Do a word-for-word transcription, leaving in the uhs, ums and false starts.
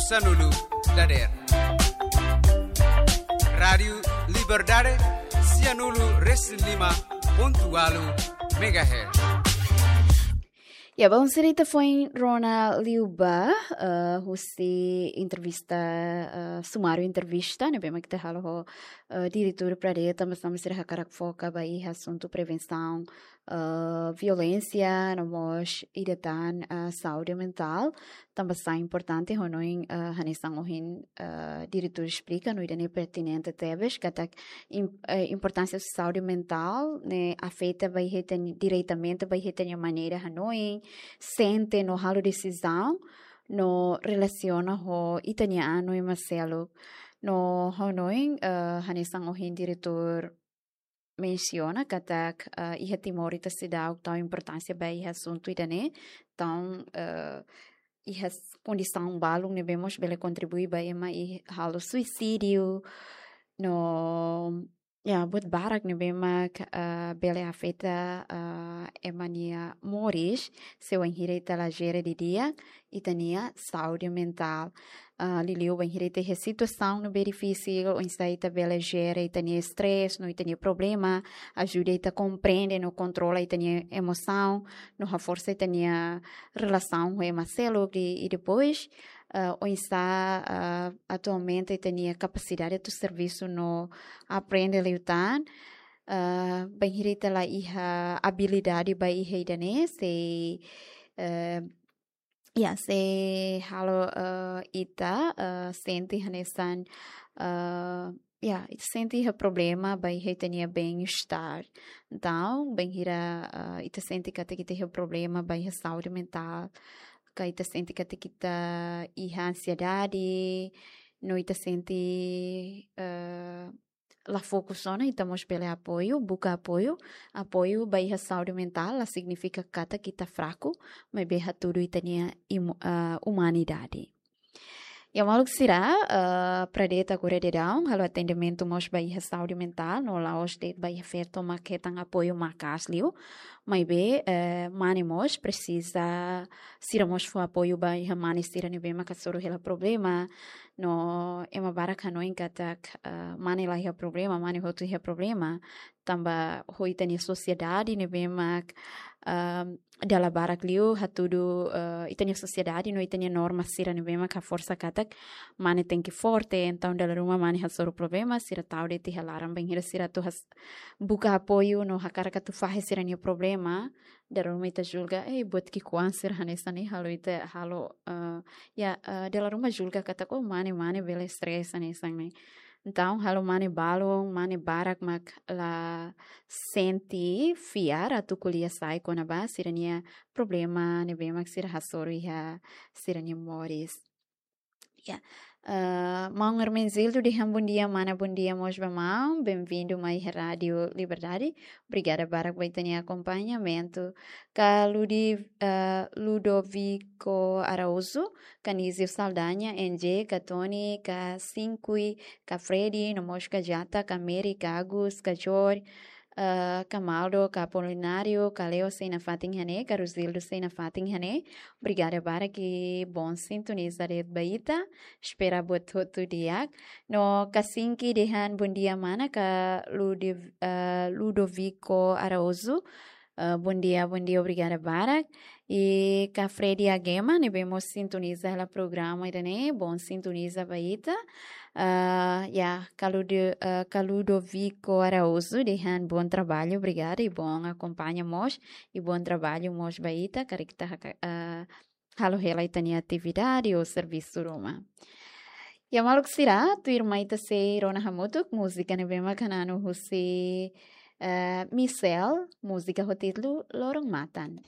Sanulu dader. Rádiu Liberdade, sianulu resin lima pontu ualu megahertz. Ya, bom, sira ita foin rona liu ba, eh, husi entrevista, eh, sumáriu entrevista ne'ebé mak ita halo ho, eh, diretór Pradeta, mas tanba sira hakarak foka ba iha asuntu prevensaun, eh, violénsia, no mós ida tan, eh, saúde mentál, tanba sai importante hanoin, eh, hanesan ohin, eh, diretór esplika, no ida-ne'e pertinente tebes, katak im-, eh, importánsia saúde mentál ne'e afeta ba iha ita-nia, diretamente ba iha ita-nia maneira hanoin, sente no halo desizaun, no relasiona ho ita-nia an no ema seluk. No hanoin, eh, hanesan ohin diretór mensiona katak, eh, iha Timor ita seidauk tau importánsia ba iha asuntu ida-ne'e. Entaun, eh, iha s-, kondisaun balun ne'ebé mós bele kontribui ba ema halo suisídiu. No, ya, buat barak ne'ebé mak, eh, bele afeta, eh, ema nia moris, se wainhira ita la jere didi'ak ita-nia saúde mentál. Ah, liuliu bainhira ita iha situasaun ne'ebé difisil, oinsá ita bele jere ita-nia stress, no ita-nia problema, ajuda ita komprende no kontrola ita-nia emosaun, no haforsa ita-nia relasaun ho ema seluk, i, i depois, ah, oinsá, ah, atualmente ita-nia kapasidade atu servisu no aprende liután, ah, bainhira ita la iha abilidade ba iha ida-ne'e, sei, eh, ya, sei halo, eh, ita, eh, sente hanesan, eh, ya, ita sente iha problema ba iha ita-nia bem-estar. Entaun, bainhira, eh, ita sente katak ita iha problema ba iha saúde mentál, ka ita sente katak ita iha ansiedade, no ita sente, eh, la fokus ona, ita mós bele apoiu, buka apoiu. Apoiu ba iha saúde mentál la signifika katak ita fraku, maibé hatudu ita-nia imu-, ah, umanidade. Ya, maluk sira, ah, Pradeta agora daudaun halo atendimentu mós ba iha saúde mentál, no la'ós de'it ba iha feto mak hetan apoiu maka'as liu, maibé, eh, mane mós presiza, sira mós fó apoiu ba iha mane sira ne'ebé mak hasoru hela problema, no ema barak hanoin katak, ah, mane la iha problema, mane hotu iha problema. Tanba ho ita-nia sosiedade ne'ebé mak, ah, dala barak liu hatudu, ah, ita-nia sosiedade no ita-nia norma sira ne'ebé mak haforsa katak mane tenke forte, entaun dala ruma mane hasoru problema, sira tau de'it iha laran, bainhira sira atu has-, buka apoiu no hakarak atu fahe sira-nia problema, dala ruma ita julga, eh, buat ki'ikoan sira hanesan ne'e halo ita halo, eh, ya, eh, dala ruma julga katak, oh, mane, mane bele stress hanesan ne'e. Entaun, halo mane balun, mane barak mak la sente fiar atu ko'alia sai kona-ba sira-nia problema ne'ebé mak sira hasoru iha sira-nia moris. Ya. Eh, maun Hermenegildo dehan bondia, mana, bondia mós ba maun. Benvindu mai Rádiu Liberdade. Obrigada barak ba ita-nia akompañamentu. Ka Ludi-, eh, Ludovico Araújo, Canizio Saldanha, N J, ka Tony, ka Sinkui, ka Freddy, no mós ka Jata, ka Mary, ka Agus, ka George, eh, ka Maldo, ka Apolinário, ka Leo sei nafatin iha ne'e, ka Rosildo sei nafatin iha ne'e. Obrigada barak i bom sintoniza de'it ba ita. Espera buat hotu di'ak. No ka Sinki dehan bondia mana, ka Lude-, eh, Ludovico Araújo. Eh, bondia, bondia, obrigada barak. I ka Freddy Agema, ne'ebé mós sintoniza hela programa ida-ne'e, bom sintoniza ba ita. Ah, ya, ka Ludo-, ah, ka Ludovico Araújo dehan bom trabalho, obrigada, i bom akompaña mós, i bom trabalho mós ba ita, karik ita haka-, ah, halo hela ita-nia atividade ou servisu ruma. Ya, maluk sira, tuirmai ita sei rona hamutuk múzika ne'ebé mak hananu husi, eh, Michelle, múzika ho títulu Loron Matan.